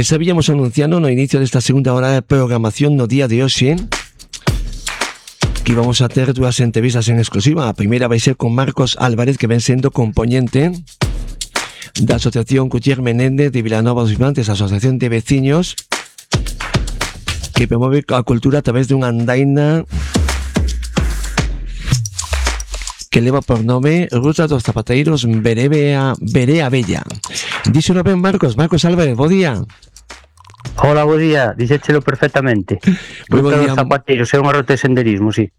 Sabíamos anunciando no inicio desta segunda hora de programación no día de hoxe que íbamos a ter dúas entrevistas en exclusiva. A primeira vai ser con Marcos Álvarez, que ven sendo componente da Asociación Cutier Menéndez de Vilanova dos Infantes, Asociación de Veciños que promove a cultura a través dunha andaina que leva por nome Ruta dos Zapateiros Verea Bella. Díxolo ben, Marcos Álvarez, bo día. Hola, bo día, dixéchelo perfectamente. Ruta dos Zapateiros é unha ruta de senderismo, sí.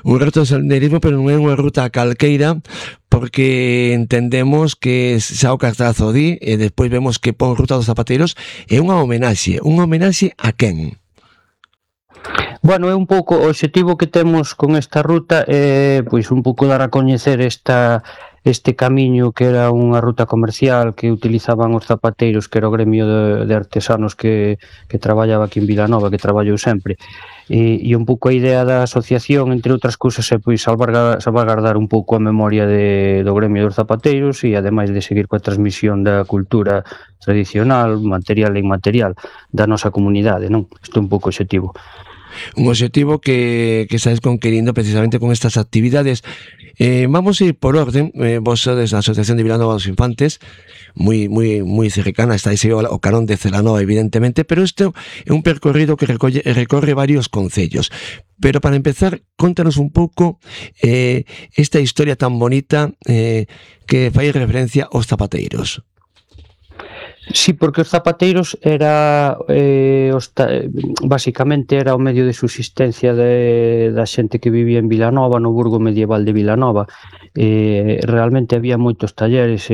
Un ruta de senderismo, pero non é unha ruta calqueira, porque entendemos que xa o cartazo di, e despois vemos que pon Ruta dos Zapateiros, é unha homenaxe a quen? Bueno, é un pouco o obxectivo que temos con esta ruta é pois un pouco dar a coñecer este camiño que era unha ruta comercial que utilizaban os zapateiros, que era o gremio de artesanos que traballaba aquí en Vilanova, que traballou sempre. E un pouco a idea da asociación, entre outras cousas, é pois salvaguardar un pouco a memoria do gremio dos zapateiros e ademais de seguir coa transmisión da cultura tradicional, material e inmaterial da nosa comunidade, non? Isto é un pouco o obxectivo. Un obxectivo que estáis conquerindo precisamente con estas actividades. Vamos a ir por orden. Vos sodes a Asociación de Vilanova dos Infantes, moi cercana, estáis o carón de Celanova, evidentemente, pero isto é un percorrido que recorre varios concellos. Pero para empezar, contanos un pouco esta historia tan bonita que fai referencia aos zapateiros. Sí, porque os zapateiros era basicamente era o medio de subsistencia da xente que vivía en Vilanova, no burgo medieval de Vilanova. Realmente había moitos talleres,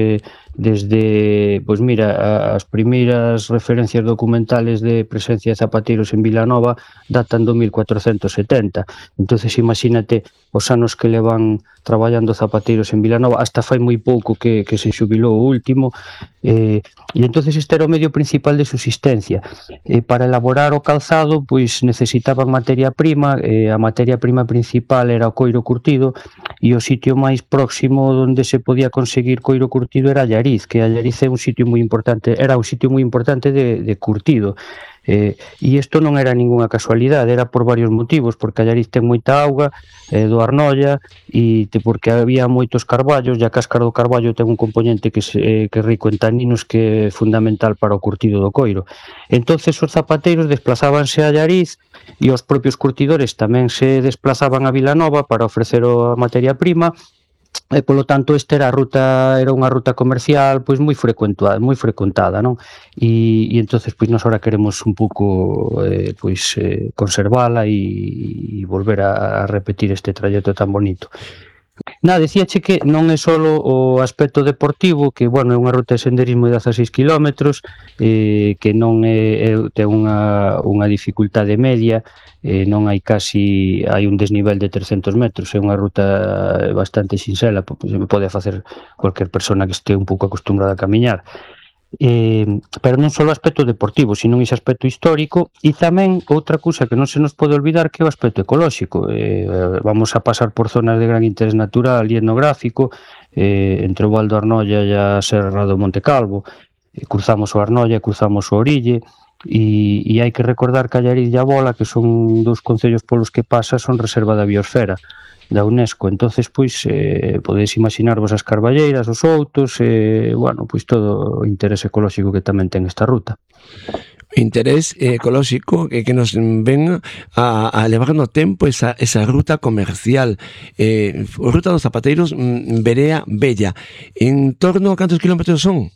desde, pois mira, as primeiras referencias documentales de presencia de zapateiros en Vilanova datan do 1470. Entonces imagínate os anos que levan traballando zapateiros en Vilanova, hasta fai moi pouco que se xubilou o último, e entonces este era o medio principal de subsistencia. Para elaborar o calzado pois necesitaban materia prima, a materia prima principal era o coiro curtido, e o sitio máis próximo onde se podía conseguir coiro curtido era Allariz, que Allariz é un sitio moi importante, era un sitio moi importante de curtido. E isto non era ninguna casualidade, era por varios motivos, porque Allariz ten moita auga do Arnolla, e porque había moitos carballos, e a cáscara do carballo ten un componente que é rico en taninos, que é fundamental para o curtido do coiro. Entonces os zapateiros desplazábanse a Allariz, e os propios curtidores tamén se desplazaban a Vilanova para ofrecer a materia prima, e polo tanto esta era unha ruta comercial pois moi frecuentada, non? E entonces pois nós ahora queremos un pouco conservala e volver a repetir este trayecto tan bonito. Decíache que non é só o aspecto deportivo, que, bueno, é unha ruta de senderismo de 16 km, que non ten unha dificultade media, non hai un desnivel de 300 metros, é unha ruta bastante sinxela, se pode facer cualquier persona que este un pouco acostumbrada a camiñar. Pero non só o aspecto deportivo, sino ese aspecto histórico, e tamén outra cousa que non se nos pode olvidar, que é o aspecto ecolóxico. Vamos a pasar por zonas de gran interés natural e etnográfico, entre o Val do Arnolla e a Serra do Monte Calvo. Cruzamos o Arnolla, cruzamos o Orille, e hai que recordar que Allariz e a Bola, que son dous concellos polos que pasa, son reserva da biosfera da UNESCO. Entonces, pois, podedes imaginarvos as carballeiras, os outos, bueno, pois todo o interés ecolóxico que tamén ten esta ruta. Interés ecolóxico que nos ven a levar no tempo esa ruta comercial, Ruta dos Zapateiros Verea Bella. En torno a cantos kilómetros son?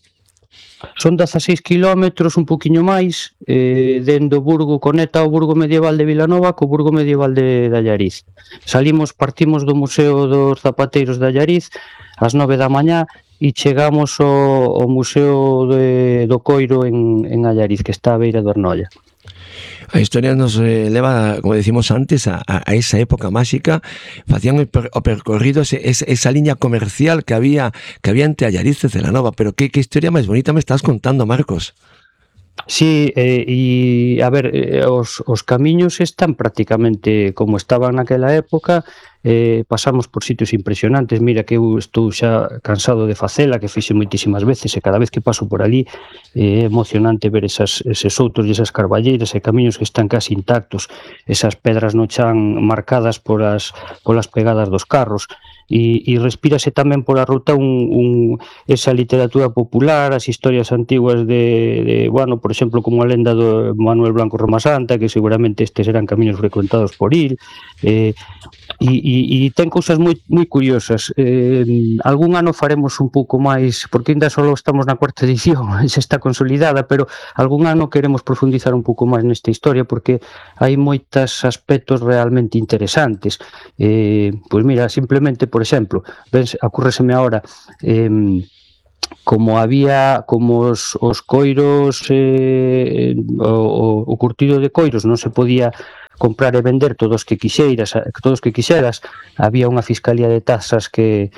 Son 16 kilómetros, un poquinho máis, dende o burgo, conecta o burgo medieval de Vilanova co burgo medieval de Allariz. Partimos do Museo dos Zapateiros de Allariz ás 9 da mañá e chegamos ao Museo do Coiro en Allariz, que está á beira do Arnolla. A historia nos leva, como decimos antes, a esa época máxica. Facían o percorrido, esa liña comercial que había entre Allariz e Celanova. Pero qué historia máis bonita me estás contando, Marcos. Sí, e a ver, os camiños están prácticamente como estaban naquela época, pasamos por sitios impresionantes. Mira que eu estou xa cansado de facela, que fixe moitísimas veces, e cada vez que paso por ali é emocionante ver eses outos e esas carballeiras e camiños que están casi intactos, esas pedras no chan marcadas polas pegadas dos carros. E respírase tamén pola ruta esa literatura popular, as historias antiguas de bueno, por exemplo, como a lenda do Manuel Blanco Romasanta, que seguramente estes eran camiños frecuentados por il, e ten cousas moi curiosas. Algún ano faremos un pouco máis, porque ainda só estamos na cuarta edición, xa está consolidada, pero algún ano queremos profundizar un pouco máis nesta historia, porque hai moitos aspectos realmente interesantes. Pois mira, simplemente, por exemplo, ocurreseme agora, como os coiros, o curtido de coiros non se podía comprar e vender todos que quixeras, había unha fiscalía de tasas que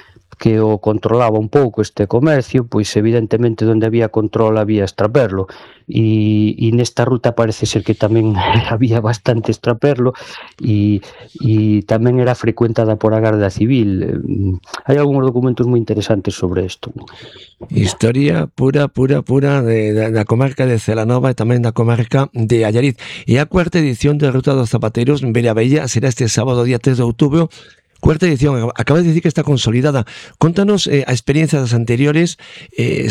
o controlaba un pouco este comercio, pois evidentemente onde había control había extraperlo, e nesta ruta parece ser que tamén había bastante extraperlo, e tamén era frecuentada por a Garda Civil. Hai algúns documentos moi interesantes sobre isto. Historia pura da comarca de Celanova e tamén da comarca de Allariz. E a cuarta edición da Ruta dos Zapateiros en Vereabella será este sábado, día 3 de outubro. Cuarta edición, acabas de decir que está consolidada. Contanos a experiencia das anteriores,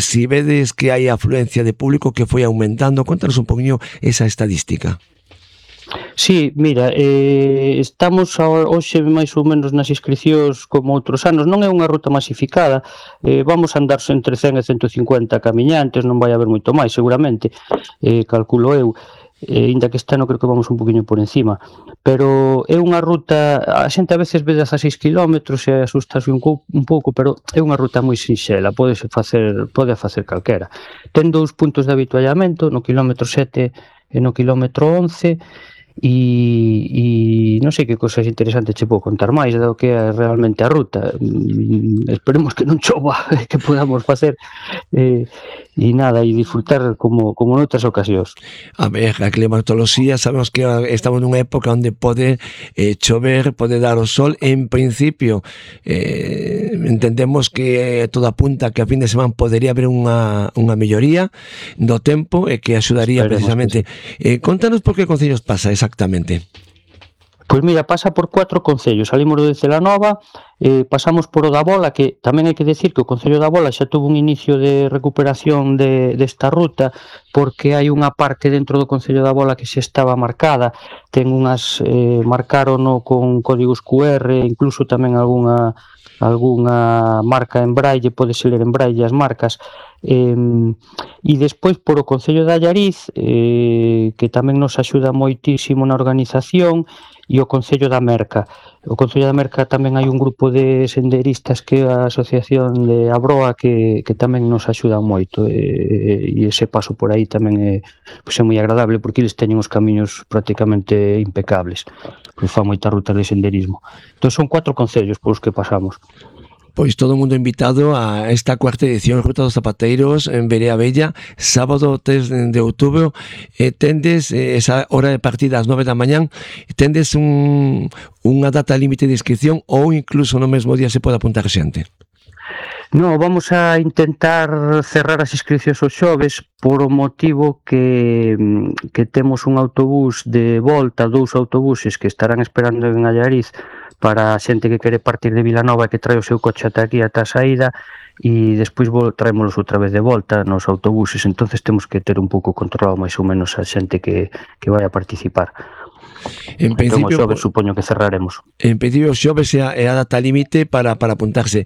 si vedes que hai afluencia de público que foi aumentando, contanos un poquinho esa estadística. Sí, mira, estamos hoxe máis ou menos nas inscricións como outros anos. Non é unha ruta masificada, vamos a andar entre 100 e 150 camiñantes, non vai haber moito máis seguramente, calculo eu. Ainda que este ano creo que vamos un poquinho por encima, pero é unha ruta, a xente a veces ve 16 km e asustase un pouco, pero é unha ruta moi sinxela, pode facer calquera. Ten 2 puntos de avituallamento, no kilómetro 7 e no kilómetro 11, e non sei que cosas interesantes che podo contar máis do que é realmente a ruta. Esperemos que non chova, que podamos facer e nada, e disfrutar como noutras ocasións. A ver, a climatoloxía, sabemos que estamos nunha época onde pode chover, pode dar o sol. En principio entendemos que todo apunta que a fin de semana podería haber unha melloría do tempo e que axudaría precisamente. Contanos por que concellos pasa exactamente. Pois mira, pasa por 4 concellos. Salimos de Celanova, pasamos por o da Bola, que tamén hai que decir que o Concello da Bola xa tuvo un inicio de recuperación desta ruta, porque hai unha parte dentro do Concello da Bola que xa estaba marcada, ten unhas marcarono con códigos QR, incluso tamén algunha marca en braille, podese ler en braille as marcas. E despois por o Concello de Allariz, que tamén nos axuda moitísimo na organización, e o Concello da Merca. O Concello da Merca tamén hai un grupo de senderistas que é a Asociación de Abroa que tamén nos axudan moito, e ese paso por aí tamén é moi agradable, porque eles teñen os camiños prácticamente impecables, que fan moitas rutas de senderismo. Entón son 4 concellos polos que pasamos. Pois todo o mundo invitado a esta cuarta edición Ruta dos Zapateiros en Vereabella, sábado 3 de outubro. Tendes esa hora de partida ás 9 da mañán, tendes unha data límite de inscripción ou incluso no mesmo día se pode apuntar xente? No, vamos a intentar cerrar as inscripcións os xoves por o motivo que temos un autobús de volta, 2 autobuses que estarán esperando en Allariz para a xente que quere partir de Vilanova e que trae o seu coche ata aquí, ata a saída, e despois traémolos outra vez de volta nos autobuses. Entonces temos que ter un pouco controlado máis ou menos a xente que vai a participar. En principio, entón, xoves, supoño que cerraremos. En principio, xoves é a data límite para apuntarse.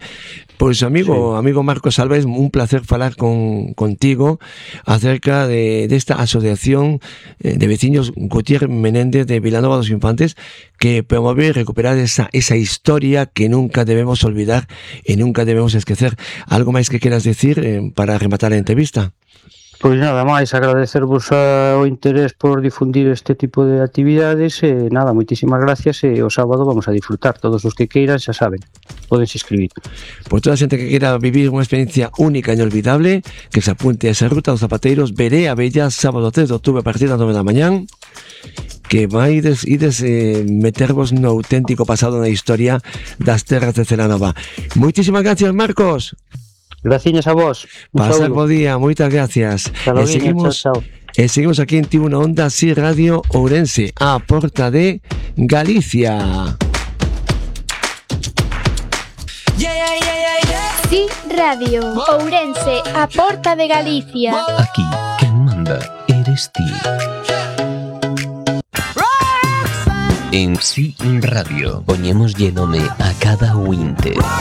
Pois amigo Marcos Alves, un placer falar contigo acerca desta asociación de veciños Gutiérrez Menéndez de Vilanova dos Infantes, que promove recuperar esa historia que nunca debemos olvidar e nunca debemos esquecer. Algo máis que queras decir para rematar a entrevista? Pois nada máis, agradecervos o interés por difundir este tipo de actividades e nada, moitísimas gracias, e o sábado vamos a disfrutar. Todos os que queiran, xa saben, podense inscribir. Por toda a xente que queira vivir unha experiencia única e inolvidable, que se apunte a esa Ruta dos Zapateiros, Vereabella, sábado 3 de outubro a partir das 9 da mañán. que ides metervos no auténtico pasado na historia das terras de Celanova. Moitísimas gracias, Marcos. Graciñas a vos. Pasar bo día, moitas gracias. Seguimos, chao. E seguimos aquí en Tiuna Onda, Sí Radio Ourense, a porta de Galicia. Sí Radio Ourense, a porta de Galicia. Aquí, quen manda eres ti. En Sí Radio, poñémoslle nome a cada ointe.